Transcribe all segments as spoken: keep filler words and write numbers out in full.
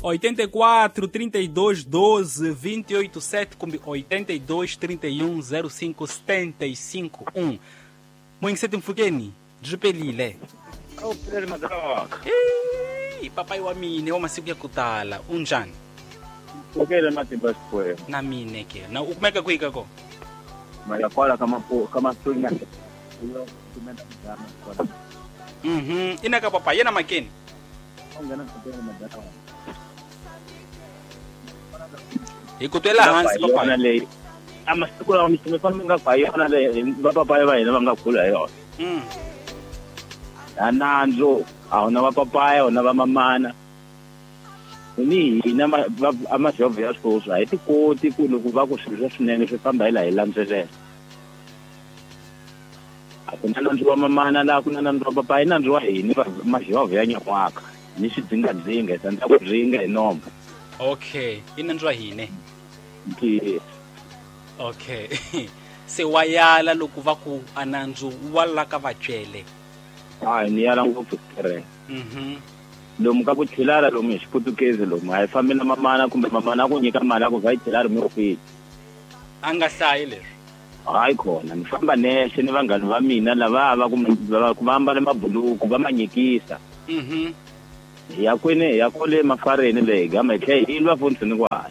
oitenta e quatro, trinta e dois, doze, vinte e oito, sete kumbe oitenta e dois, trinta e um, zero cinco, setenta e cinco, um. Moingiseti mfukeni, byi Ei, papai wa mine wa masiku ya kutala, unjani? Mfukeni matimba sikwenu. Na mine ke. Na ukumeka kuika ko? Malakwala kama kama swinga. Mhm, ina ka papa yena makeni. Hi ku twela hansi papa. A masiku lawa mi famba nga kwa yona le va papa va hina va nga kula hi yona. Mm. A nandzu a huna va papaya huna va mamana. Ni hina a majovho ya sweswi a hi ti koti ku loko va ku swilo swa swinene swi famba hi laha hi landzelela. A ku na nandzu wa mamana laha ku na nandzu wa papaya i nandzu wa hina majovho ya nyan'waka ni xidzingadzinga hi tsandzeka ku dzinga hi nomo. Okay, i nandzu wa hina. Yes. Okay. Se wa yala loko va ku a nandzu wa la ka vatswele. Hayi ni yala ngopfu tirhe. Mhm. Lomu ka ku chilala lomu hi xiputukezi lomu a hi fambi na mamana kumbe mamana a ku nyika mali a ku va yi chilala mi kwihi. A nga hlayi leswi. Hayi khona ni famba nexe ni vanghani va mina lava va ku va ambale mabuluku va ma nyikisa. Mhm. Hi ya kwini hi ya kwale mafareni leyi hi gama hi tlhela hi lwa futhi ni kwala.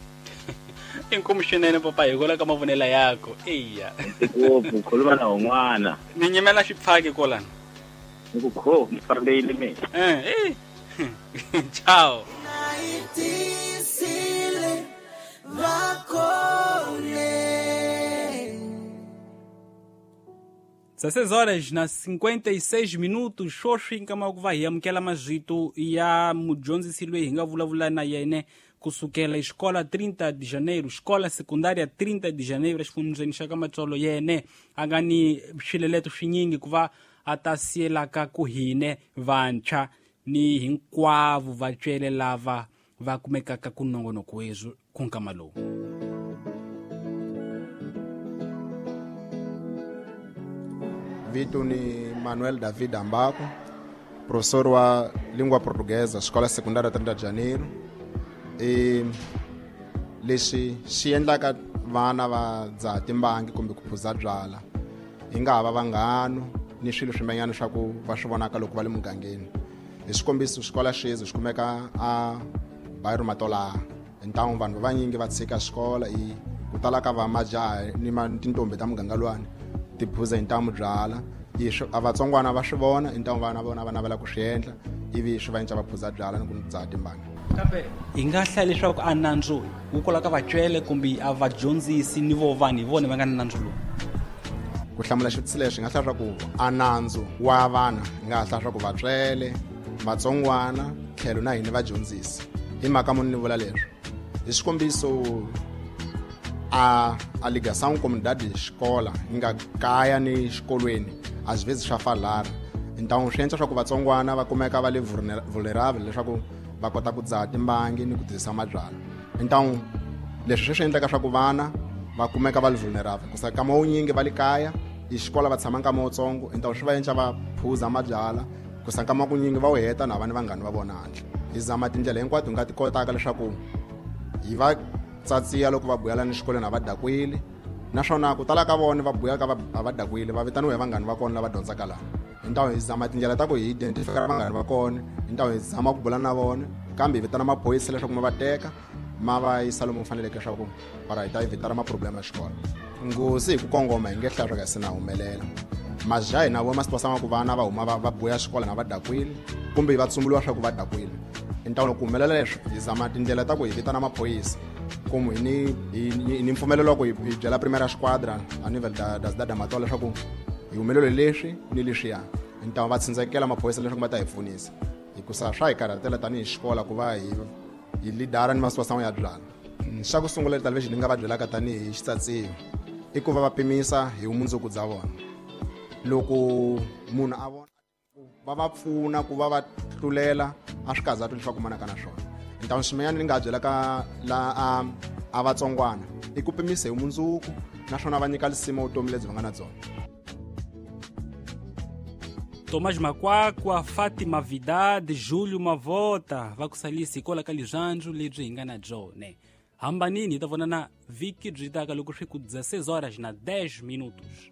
Inkomu swinene papa hi kola ka mavonelo yako. Eya. Ngopfu khuluma na un'wana. Ni nyimela xipfaki kolana. Ni ku kho ni fambile mina. Eh eh. Ciao. dezesseis horas na cinquenta e seis minutos, xoxi nkama ku va hi amukela mazito ya mudyondzisi loyi hi nga vulavula na yena kusukela escola trinta de janeiro, escola secundária trinta de janeiro, exifundzeni xa ka Matsolo yene a nga ni swileleto swinyingi ku va a ta siyelaka ku hine vantshwa ni hinkwavo vatswele lava va kumekaka ku nongonoko wezwi ku nkama lowu. Vito ni Manuel David Ambako, professor wa língua portuguesa, escola secundária trinta de janeiro. E lexi xi endlaka vana va dzaha timbangi kumbe ku phuza byala hi nga ha va vanghano ni swilo swin'wanyana swa ku va swi vonaka loko va le mugangeni. Hi xikombiso xikola xexi xi kumeka a Bairro Matolaha ntangu vanhu vanyingi va tshika xikola i ku tala ka va majaha ni tintombi ta muganga luwani ti phuza hi ntamu byala i a vatsongwana va swi vona i ntamu vana vona va navela ku swi endla ivi swi va endla va phuza byala ni ku dzaha timbangi. Kambe hi nga hlaya leswaku a nandzu wu kola ka vatswele kumbe a vadyondzisi ni vo vanhu hi vona va nga na nandzu lowu. Ku hlamula xivutiso lexi hi nga hlaya swa ku a nandzu wa vana hi nga hlaya swa ku vatswele vatsongwana tlhelo na hina vadyondzisi. Hi mhaka muni ni vula leswi? Hi xikombiso a a ligação comunidade escola yi nga kaya ni xikolweni às vezes swa falara. Então swi endla swa ku vatsongwana va kumeka va le vulnerable leswaku va kota ku dzaha timbangi ni ku tirhisa mabyala. Então leswi swi endlaka swa ku vana va kumeka va le vulnerable ku sa kama wunyingi va le kaya i xikola va tshama nkama wutsongo, então swi va endla va phuza mabyala ku sa nkama kunyingi va wu heta na va ni vanghani va vona handle. Hi zama tindlela hinkwato hi nga ti kotaka leswaku hi va tsatsiya loko va buyela ni xikolweni a va dakwile, naswona ku tala ka vona va buya ka va va dakwile va vitaniwa hi vanghani va kona lava dyondzaka laha. Hi hi zama tindlela ta ku hi identify vanghani va kona, hi hi zama ku bula na vona, kambe hi vitana maphorisa leswaku ma va teka ma va yisa lomu faneleke leswaku para hi ta evitara ma-problem ya xikolo. Nghozi hi ku kongoma hi nge hlaya swa ka se na humelela. Majaha hina vo ma swi tiva ku vana va huma va va buya xikolo na va dakwile kumbe va tsumburiwa swa ku va dakwile. Então loko ku humelela leswi hi zama tindlela ta ku hi vitana maphorisa como hi ni hi ni mpfumelelo wa ku hi byela primeira squadra a nível da da cidade da Matola leswaku hi humelele leswi ni leswiya. Então va tsindzekela maphorisa leswaku va ta hi pfunisa hikusa swa hi karhatela tanihi xikola ku va hi hi lidara ni masiwa ya byala. Xa ku sungula lexi ni nga va byelaka tanihi xitsatsiwa i ku va va pimisa hi vumundzuku bya vona. Loko munhu a vona va va pfuna ku va va tlulela a swi kaza leswaku manaka na swona. Então xin'wanyana ni nga byelaka la a a vatsongwana i ku pimisa hi vumundzuku naswona va nyika lisimo vutomi lebyi va nga na byona. Tomás Makwakwa, Fatima Vidade, Júlio Mavota va ku salisi hikwalaho ka lirhandzu lebyi hi nga na byona. Hambanini hi ta vonana vhiki byi taka loko swi ku dezesseis horas na dez minutos.